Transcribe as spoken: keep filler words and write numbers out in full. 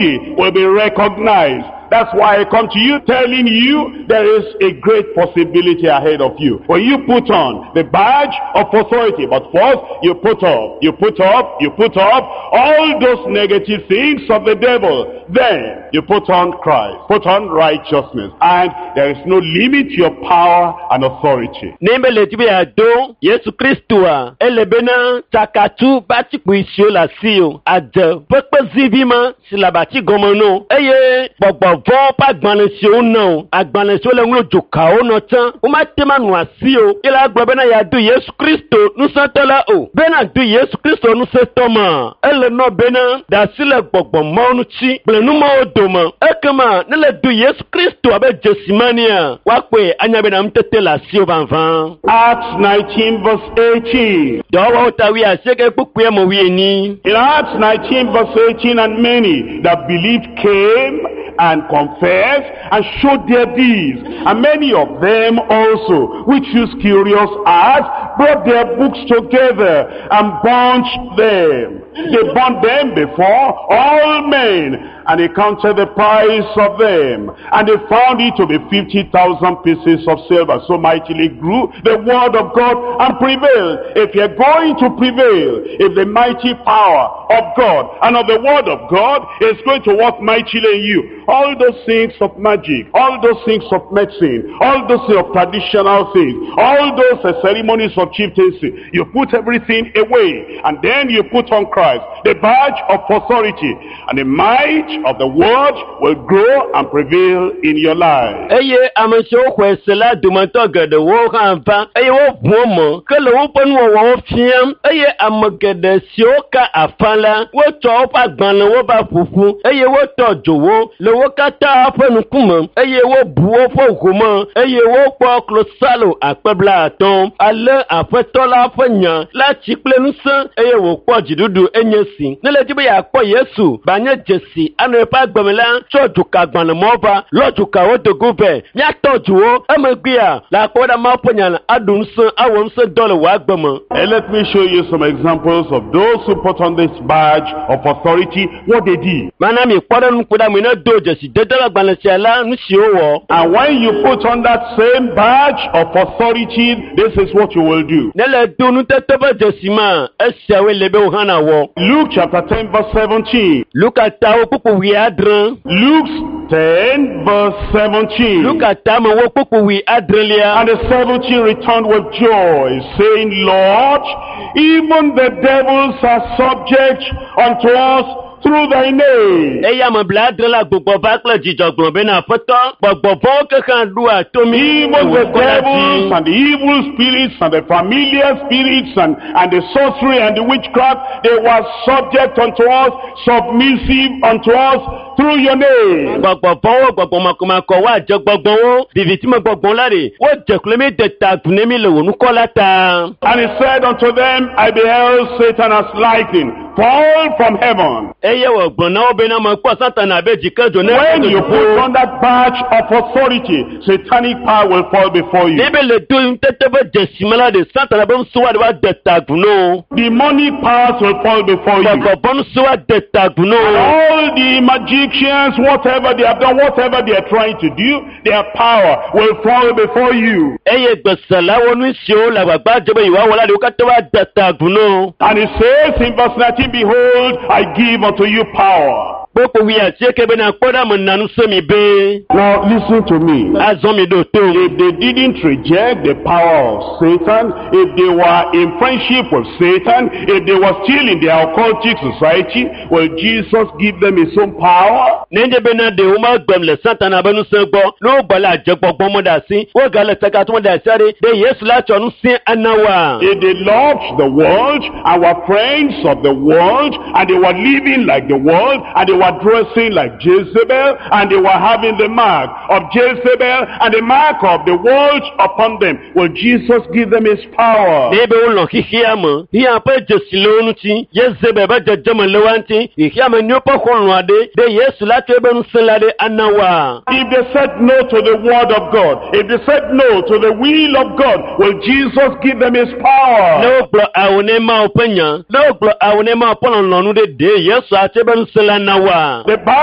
will be recognized. That's why I come to you telling you there is a great possibility ahead of you. When you put on the badge of authority, but first you put up, you put up, you put up all those negative things of the devil. Then you put on Christ, put on righteousness, and there is no limit to your power and authority. Ne be le di be yeado Yesu Kristoa, ele bena tsakatu ƒe atikpui siwo le asiwò, adze ƒe kpezivi ma si le abati gɔme no eye gbɔgbɔ vɔ̃ ƒe agbalẽ siwo nɔ o, agbalẽ siwo le ŋlɔ dzokawo nɔ tsã, womate ma nɔ asiwò ye la gblɔ bena yeado Yesu Kristo ŋusẽtɔ la o. Bena do Yesu Kristo ŋusẽtɔ ma, ele nɔ bena da asi le gbɔgbɔ mawo ŋuti kple numawo dome. Ekema ne le do Yesu Kristo abe dzesi ma nea, woakpɔe anya bena nutete le asiwò vavã. Acts nineteen verse eighteen. Dɔwɔwɔwo ta wuiasieke kpukpui me wuienyi. In Acts nineteen verse eighteen, and many that believed came and confessed and showed their deeds. And many of them also, which used curious arts, brought their books together and burnt them. They burnt them before all men, and they counted the price of them. And they found it to be fifty thousand pieces of silver. So mightily grew the word of God and prevailed. If you're going to prevail, if the mighty power of God and of the word of God is going to work mightily in you, all those things of magic, all those things of medicine, all those things of traditional things, all those uh, ceremonies of chieftaincy, you put everything away, and then you put on Christ, the badge of authority, and the might of the word will grow and prevail in your life. Eye ame siwo xɔe se la dometɔ geɖewo hã va eye woʋu wo me ke le woƒe nuwɔwɔwo fiam eye ame geɖe siwo ka afa la wotsɔ woƒe agbalẽwo va ƒoƒu eye wotɔ dzo wo le wo katã ƒe ŋkume eye wobu woƒe home eye wokpɔ klosalo akpe blaatɔ̃. Ale aƒetɔ la ƒe nya la tsi kple ŋusẽ eye wòkpɔ dziɖuɖu enye si. Ne le di be yeakpɔ Yesu ba nye dzesi anɔ eƒe agbeme la, tsɔ dzokagbalẽmɔ va, lɔ dzokawo do go vɛ, míatɔ dzo wo. Emegbea, le akpɔ ɖa Mawu ƒe nya la aɖu ŋusẽ, awɔ ŋusẽ dɔ le wò agbe me. And let me show you some examples of those who put on this badge of authority, what they did. Mana mi kpɔ ɖe nukuɖeame ne do dzesi dede le agbalẽ sia la, nu siwo wɔ. And when you put on that same badge of authority, this is what you will do. Ne le do nutete ƒe dzesi ma, esiawoe le be wò hã nawɔ. Luke chapter ten verse seventeen. Luka tawo kpukpu wuiadre. Luke ten verse seventeen. Luka tame wo kpukpu wuiadrelia. And the seventy returned with joy, saying, Lord, even the devils are subject unto us through thy name. Eye ame blaadre la gbugbɔ va kple dzidzɔ gblɔ bena, Aƒetɔ, gbɔgbɔ vɔ̃wo ke hã ɖoa to mí Even le the wò ŋkɔ la devils dzi. and the evil spirits and the familiar spirits and, and the sorcery and the witchcraft, they were subject unto us, submissive unto us through your name. Gbɔgbɔ vɔ̃wo, gbɔgbɔ makɔmakɔ, woadze gbɔgbɔwo, vivitime gbɔgbɔ la ɖe, wodze klo mí de ta agu ne mí le wò ŋkɔ la ta. And he said unto them, I beheld Satan as lightning fall from heaven. Eye wògblɔ na wo bena, mekpɔ Satana abe dzikedzo ne When you put on that badge of authority, satanic power will fall before you. Ne be le do ŋutete ƒe dzesi me la ɖe, Satana ƒe ŋusẽ woaɖe woade ta agu na wo. Demonic powers will fall before you. Gbɔgbɔ vɔ̃ ŋusẽ woade ta agu na And wo. all the magicians, whatever they have done, whatever they are trying to do, their power will fall before you. Eye gbeselawo nu siwo le agbagba dze be yewoawɔ la ɖe, wo katã woade ta agu na wo. And it says in verse nineteen, Behold, I give unto you power. Kpokpo wuiasieke bena, kpɔ ɖa mena ŋusẽ mi be. Now listen to me. Azɔ mi ɖo to. If they didn't reject the power of Satan, if they were in friendship with Satan, if they were still in their occultic society, will Jesus give them his own power? Nenye bena ɖe womegbem le Satana ƒe ŋusẽ gbɔ, ne wogbɔ le adzegbɔgbɔ me ɖe asi, wogale tsakatɔ me ɖe asi aɖe, ɖe Yesu la tsɔ ŋusẽ ana woa? If they loved the world and were friends of the world, and they were living like the world, and they were dressing like Jezebel, and they were having the mark of Jezebel and the mark of the world upon them, will Jesus give them his power? Ne be wolɔ̃ xexea me, xexea ƒe dzesi le wo ŋuti, Yezebel ƒe dzedzeme le woa ŋuti, xexea me nyuiwo ƒe xɔlɔ̃ aɖe, ɖe Yesu la tsɔ eƒe ŋusẽ la ɖe ana woa? If they said no to the word of God, if they said no to the will of God, will Jesus give them his Ne power? wogblɔ awo ne Mawu ƒe nya, ne wogblɔ awo ne Mawu ƒe lɔlɔ̃nu ɖe, ɖe Yesu atsɔ eƒe ŋusẽ la na woa? oa The Bible